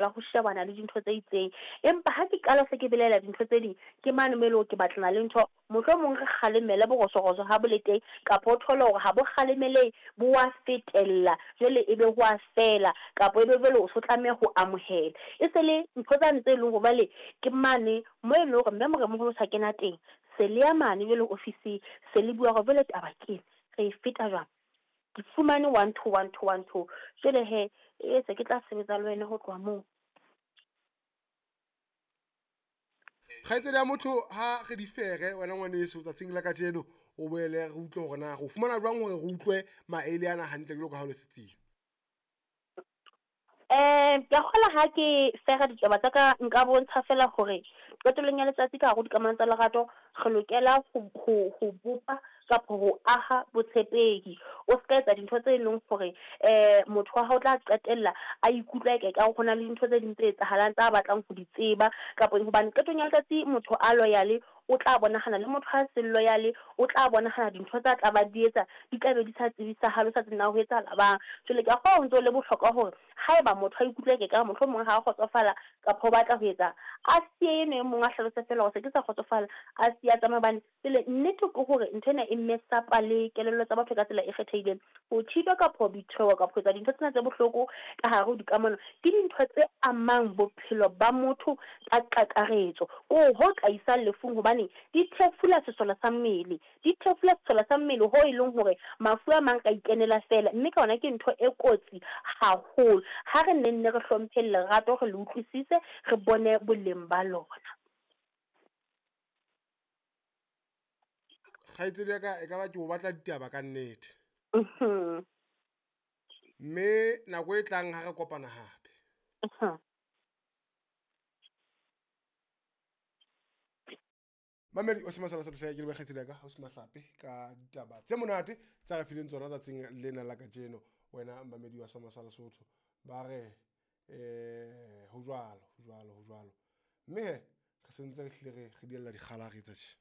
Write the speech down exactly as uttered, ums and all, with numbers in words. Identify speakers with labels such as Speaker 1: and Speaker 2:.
Speaker 1: Ho shebana le dintho tse itseng, empa ha ke qala se ke belaela dintho tse ding, ke mane mo eleng hore ke batlana le ntho. Mohlomong re kgalemele borosorosoro ha bo le teng, kapa o thole hore ha bo kgalemelehe bo wa fetella, jwale ebe ho a fela, kapa ebe jwale o so tlameha ho amohela. E se le ntho tsane tse leng hore jwale ke mane mo e leng hore mme Moremoholo o sa kena teng, se le ya mane jwale ofising, se le bua hore jwale taba ke ena, re e feta jwang. Ke fumane one two one two one two, jwale hee e se ke tla sebetsa le wena ho tloha moo.
Speaker 2: Kgaitsedi ya motho, ha re di fere wena ngwaneso tsatsing la kajeno, o boele re utlwe hore na re o fumana jwang hore re utlwe maele ana hantle jwalo ka ha o le setsebi.
Speaker 1: Um ke a kgolwa ha ke fera ditaba tsa ka, nka bontsha fela hore qetellong ya letsatsi ka hare ho dikamano tsa lerato, re lokela ho ho ho bopa kapa ho aha botshepehi. O ska etsa dintho tse leng hore um motho wa hao o tla qetella a ikutlwa eke ekare ho na le dintho tse ding tse etsahalang tsa batlang ho di tseba, kapa hobane qetong ya letsatsi motho a loyal o tla bonahala, le motho a seng loyal o tla bonahala, dintho tsa tla ba di etsa di tla be di sa tsebisahale, o sa tsebe na ho etsahala bang. Jwale ke a kgolwa ho ntso le bohlokwa hore haeba motho a ikutlwa eke ekare mohlomong ha a kgotsofala kapa o batla ho etsa, a siye eno e mong, a hlalose fela hore se ke sa kgotsofala, a siye a tsamaye. Hobane pele nnete ke hore ntho ena e mess-up-a le kelello tsa batho ka tsela e kgethehileng. Ho cheat-wa kapa ho betray-wa kapa ho etsa dintho tsena tse bohloko ka hare ho dikamano, ke dintho tse amang bophelo ba motho ka kakaretso, ko ho ka isang lefung, hobane di thefula sesole sa mmele, di thefula sesole sa mmele ho e leng hore mafu a mang ka ikenela fela, mme ka hona ke ntho e kotsi haholo. Ha re nne nne re hlompheng lerato, re le utlwisise, re bone boleng ba lona.
Speaker 2: Kgaitsedi ya ka, e ka ba ke o batla ditaba ka nnete.
Speaker 1: Mhm.
Speaker 2: Mme nako e tlang ha re kopana hape.
Speaker 1: Mhm.
Speaker 2: Mamedi o se masala sa ke le kgaitsedi ya ka, o se mahlape ka ditaba tse monate tsa re fileng tsona tsatsing lena la kajeno. Wena mamedi wa sa Masala Sotho, ba re eh ho jwalo, ho jwalo, ho jwalo. Mme he re sentse re hlile re re diella dikgala re etsa tje.